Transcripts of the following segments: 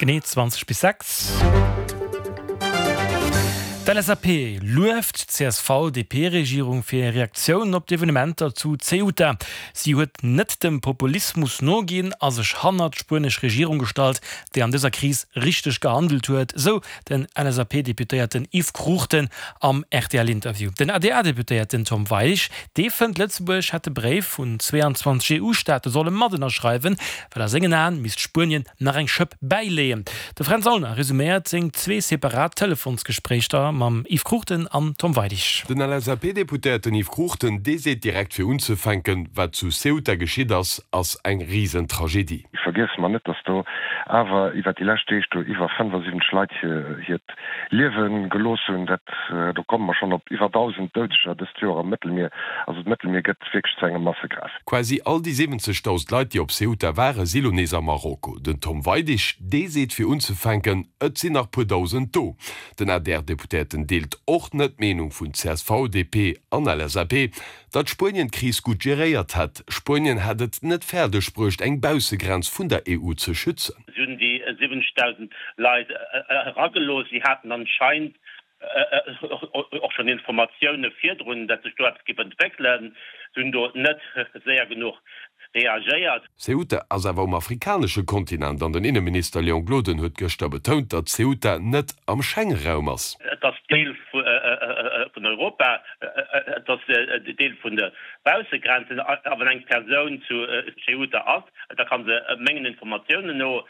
Genee 20 bis 6. D'LSAP lueft d'CSV-DP-Regierung fir hir Reaktioun op d'Evenementer zu Ceuta. Si huet net dem Populismus noginn a sech hannert d'spuenesch Regierung gestallt, déi an dëser Kris richteg gehandelt huet, sou den LSAP-Deputéierten Yves Cruchten am RTL-Interview. Den ADR-Deputéierten Tom Weidig, dee fënnt, Lëtzebuerg hätt de Bréif vun 22 EU-Staate solle mat ënnerschreiwen, well a sengen Aen misst Spuenien nach eng Schëpp bäileeën. De Fränz Aulner resuméiert seng zwee separat Telefonsgespréichter mam Yves Cruchten an Tom Weidig. Den LSAP-Deputéierten Yves Cruchten, dee seet direkt fir unzefänken, Wat zu Ceuta geschitt ass, ass eng Risentragedie. Vergiesse mer net, datt do awer iwwer déi lescht Deeg do iwwer 75 Leit hiert Liewe gelooss hunn. Dat, do komme mer schonn op iwwer 1.000 Doudeger dëst Joer am Mëttelmier. Also d'Mëttelmier gëtt wierklech zu engem Massegraf. Quasi all déi 70.000 Leit, déi op Ceuta waren, si lo nees a Marokko. Den Tom Weidig, dee seet fir unzefänken, et sinn nach puer Dausend do. Den ADR-Deputéierten deelt och net d'Meenung vun csv, DP an LSAP, datt Spuenien d'Kris gutt geréiert hätt. Spuenien hätt et net fäerdeg bruecht, eng Baussegrenz vun der EU ze schützen. Si hunn déi 70.000 Leit eragelooss. Si haten anscheinend och schonn Informatioune virdrun, datt sech do eppes géif entwéckelen. Si hunn do net séier genuch reagéiert. Ceuta ass awer um afrikanesche Kontinent an den Inneminister Léon Gloden huet gëschter betount, datt Ceuta net am Schengeraum ass. Et ass Deel vun Europa, et ass Deel vun de Baussegrenzen. A wann eng Persoun zu Ceuta ass, da ka se mengen Informatiounen no,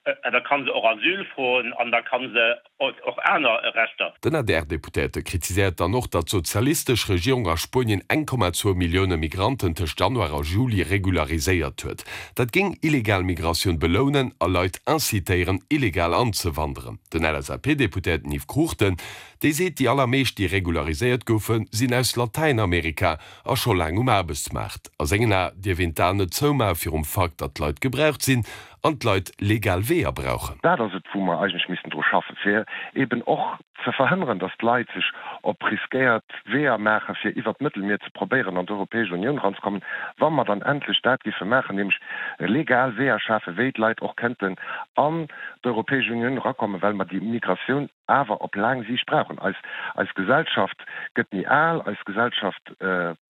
da ka se och Asyl froen an da ka se och aner Rechter. Den ADR-Deputéierte kritiséiert dann och, datt d'sozialistesch Regierung a Spuenien 1,2 Millioune Migranten tëscht Januar a Juli regulariséiert huet. Dat géing illegal Migratioun belounen a Leit incitéieren, illegal anzewanderen. Den LSAP-Deputéierten Yves Cruchten, dee seet, déi allermeescht, déi regulariséiert goufen, sinn aus Latäinamerika a scho laang um Aarbechtsmaart. A sengen Ae dierf een d'Aen net zoumaache virum Fakt, datt d'Leit gebraucht sinn an d'Leit legal Weeër brauchen. Dat ass et, wou mer eigentlech missten dru schaffen, fir eben och ze verhënneren, datt d'Leit sech op riskéiert Weeër maachen, fir iwwert d'Mëttelmier ze probéieren, an d'Europäesch Unioun eranzekommen. Wa mer dann endlech dat giffe maachen, nämlech legal Weeër schafen, wéi d'Leit och kënnten an d'Europäesch Unioun erakommen, well mer déi Migratioun awer op laang Siicht brauchen. Eis, eis Gesellschaft gëtt méi al, eis Gesellschaft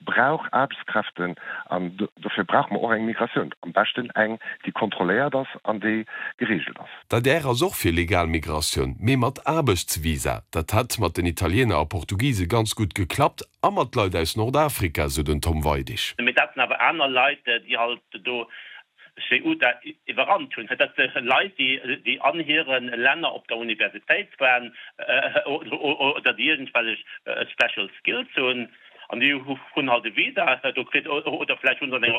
brauch Aarbechtskräften an dofir brauche mer och eng Migratioun, am beschten eng, déi kontrolléiert ass an déi geregelt ass. D'adr ass och fir legal Migratioun, mee mat Aarbechtsvisa. Dat hätt mat den Italiener a Portugise ganz gutt geklappt a mat Leit aus Nordafrika, sou den Tom Weidig. Mee dat sinn awer aner Leit, déi halt do Ceuta iwwerrannt hunn. Dat si Leit, déi an hire Länner op der Universitéit waren oder déi iergendwellech special skills hunn an déi hunn halt e Visa do kritt oder vläicht hu se an enger.